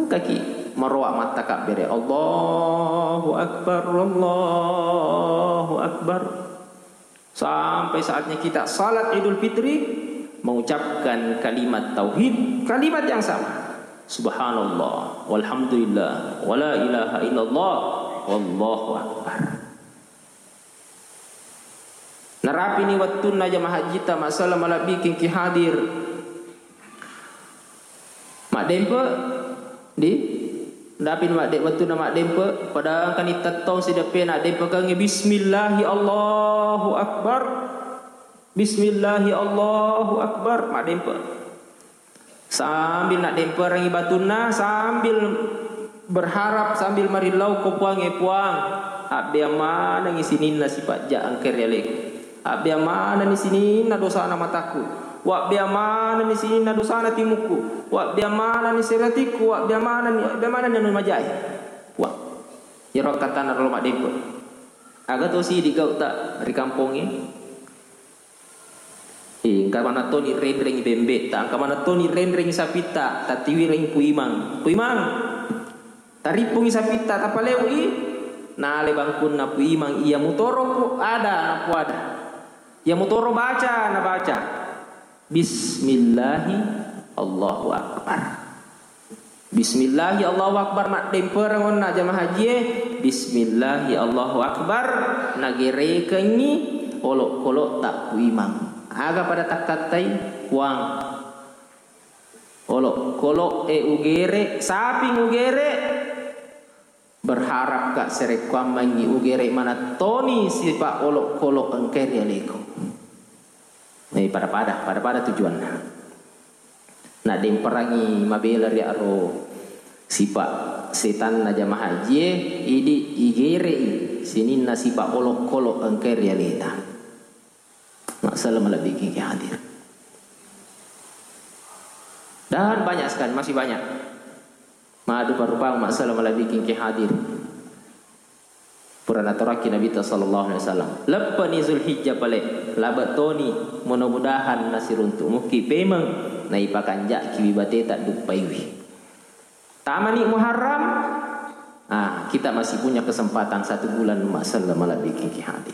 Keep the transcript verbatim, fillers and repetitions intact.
Kaki maroa mattakabbere, Allahu Akbar, Allahu Akbar. Sampai saatnya kita salat Idul Fitri, mengucapkan kalimat tauhid, kalimat yang sama. Subhanallah, walhamdulillah, wala ilaha illallah, wallahu akbar. Narapini wettunna jamaah hajjita, masalah malebbiking ki hadir. Maddempe, di? Dapin madde-, wettunna maddempe, pada engkani tettong sideppe naddempekengngi, bismillahi Allahu Akbar. Bismillahi Allahu Akbar, maddempe. Sambil naddemperengngi batunna, sambil berharap, sambil marillau ko Puang, e Puang, abbeang manengngi sininna sipajja engka ri aleku. Abbeang manenni sininna dosana mataku. Wabbeang manenni sininna dosana timukku. Wabbeang manenni seratikku. Wabbeang manenni, wabbeang manenni anu majae. Puang. Iyaro akkattana ro maddempe. Aga to sidi gau'ta ri kampongnge? Eh, engka maneng toni renrengngi bembe'ta, engka maneng toni renrengngi sapitta, tatiwirengngi Pu Imang. Pu Imang, tarippungngi sapitta, tapaleui. Nale bangkunna Pu Imang, iya mutoro ku ada, napuada. Iya mutoro baca, nabaca. Bismillahi Allahu Akbar. Bismillahi Allahu Akbar, maddempereng onna jamaah hajie. Bismillahi Allahu Akbar, nagerekengngi olokkolok ta Pu Imang. Aga pada takkattai, Puang? Olokkolok e ugere, saping ugere. Berharap ka serekkuammengngi ugere maneng toni sipa olokkolok engkae ri aleku. Eh, pada-pada, pada-pada tujuanna. Naddemperangngi mabela ri aro sipa setanna jamaah hajie, idi igerei sininna sipa olokkolok engkae ri aleta. Masalah malebbiking ki hadir. Dan banyak sekali, masih banyak. Madu parupang masalah malebbiking ki hadir. Pura naturakki Nabitta sallallahu alaihi wasallam. Leppani Zulhijjah pale, labe toni, mudah-mudahan nasiruntu muki pemeng, naipakanjaki wibateta duppaiwi. Tamani Muharram, ah, kita masih punya kesempatan satu bulan masalah malebbiking ki hadir.